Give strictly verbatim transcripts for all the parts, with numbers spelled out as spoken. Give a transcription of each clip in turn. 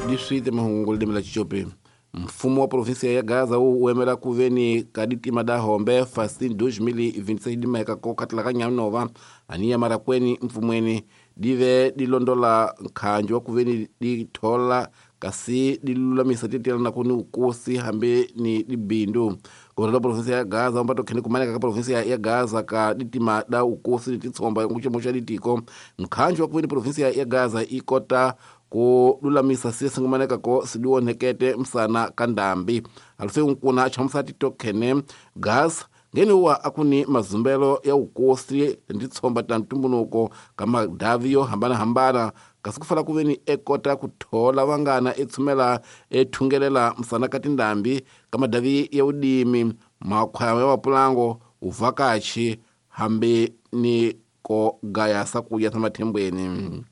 Diswite mahungu ledimi la Chichopi. Mfumo wa provinsia ya Gaza wu emela ku veni ka ditima da hombe fasin dois mil e vinte e seis dimeka ko katla ka nyanova aniya marakweni mfumweni dive dilondola nkhanjo wa ku veni dithola kasi dilulamisa titela na kuni ukosi hambe ni dibindu governador da provinsia ya Gaza mbato khene kumaneka ka provinsia ya Gaza ka ditima da ukosi titsomba nguchemo cha ditiko nkhanjo wa ku veni provinsia ya Gaza ikota ku lulamisa sisi ngumaneka ko sidiwonekete msana kandambi alufe nkuna chamusa titokhene gas ngene wa akuni mazumbelo ya ukosi nditsomba ta ntumbunuko kama davio hambana hambana kasi kufala kuveni ekota kuthola vangana etsumela ethungelela msana katindambi kama davi ya udimi makhwaya ya mapulango uvakachi hambe ni ko gaya sakuya samathembweni.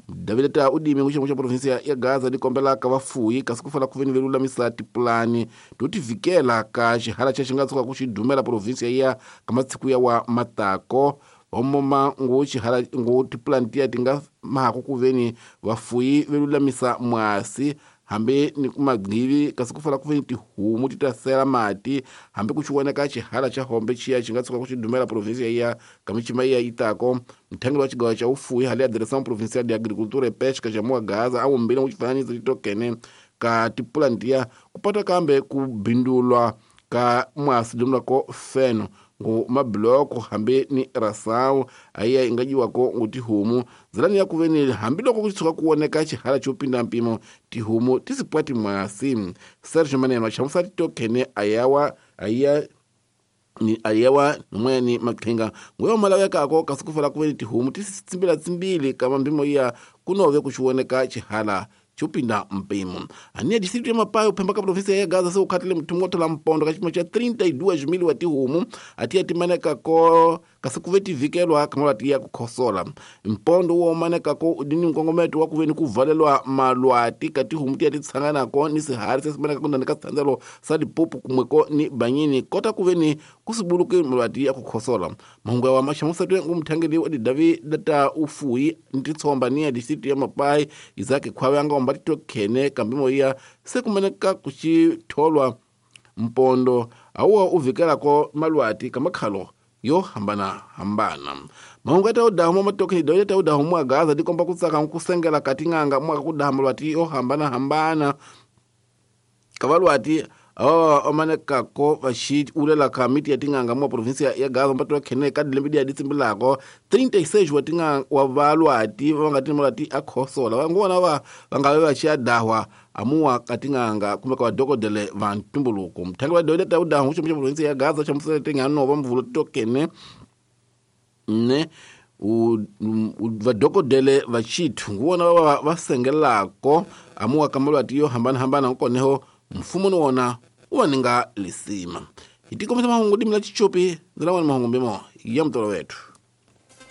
David ta udimi nguchemo cha provinsia ya Gaza dikombela ka vafuyi kasi kufala kuveni velulamisa tipulani totivikela ka xihala xa xi nga tshuka ku xi dumela provinsia ya ka matsiku ya wa matako homoma ngu xihala ngu tipulani tiya ti nga mahako kuveni vafuyi velulamisa mwasi hambe ni kumagqivi kasi kufala kuveni tihomu ti ta sela mati hambe ku xiwoneka xihala xa hombe xiya xi nga tshuka ku xi dumela provinsia ya ka michima ya itako mthengelo wa xigawa xa ufuyi hale ya Direção Provincial de Agricultura e Pesca xa Mua Gaza a wumbile ngu xifananiso xitokene ka tipulani tiya ku pata kambe ku bindulwa ka mwasi dumulako feno ngu mabloko hambe ni rasawu ayiya inga dyiwako ngu tihomu ndzilani ya kuveni hambiloko ku tshuka ku woneka xihala xo pinda mpimo tihomu ti sipwa timwasi. Sergio Maneno xamusa titokhene ayawa ayiya ni ayawa nimweni maqhinga nguyo malavekako kasi ku fala kuveni tihomu ti tsimbila tsimbili ka mambimo ya kunove ku xiwoneka xihala chupinda mpimo. Ania distrito ya Mapai uphemba ka provinsia ya Gaza se ukhatile mthungo thola mpondo ka xipimo xa trinta e duas mil wa tihomu atiya timaneka ko kasi kuve tivikelwa ka ya ku khosola mpondo wo maneka ko udini nkongometo wa kuveni ku valelwa malwati ka tihomu tiya ti tshanganako ni sihari se simaneka ku ndani ka sithandzelo sa lipopo kumweko ni banyini kota kuveni ku sibuluke malwati ya ku khosola. Mahungu ya wa maxamusatwe ngu mthangeli wa didavi data ufuyi ntitsomba ni ya distrito ya Mapai Isaac Khwawe nga omba titokhene kambimo ya se kumaneka kuxitholwa mpondo awuwa uvikelako malwati ka makhalo yo hambana hambana. Mahungu ya taudahu matokhe doya taudahu mwa Gaza dikomba kutsaka nkusengela kating'anga mwa kudaha malwati yo hambana hambana kavalwati awa omanekako vaxi ulela ka miti ya ting'anga mwa provinsia ya Gaza mbato khene ka dilembe dia ditsimbilako trinta e seis wa ting'anga wa valwati va nga ti malwati a khosola vangona va va nga va xi ya dahwa amuwa ka ting'anga kumbe ka vadokodele va ntumbuluko. Mthangi wa doyile ta udahu xi xa provinsia ya Gaza xa musele ting'ano va mvulo tokene ne u vadokodele va xithu nguvona va va sengelako amuwa ka malwati yo hambana hambana nkoneho mfumo ni wona u va ninga lisima. Hi tikomisa mahungu dimila Chichopi ndzi lava mahungu mbimo ya mutolo wetu.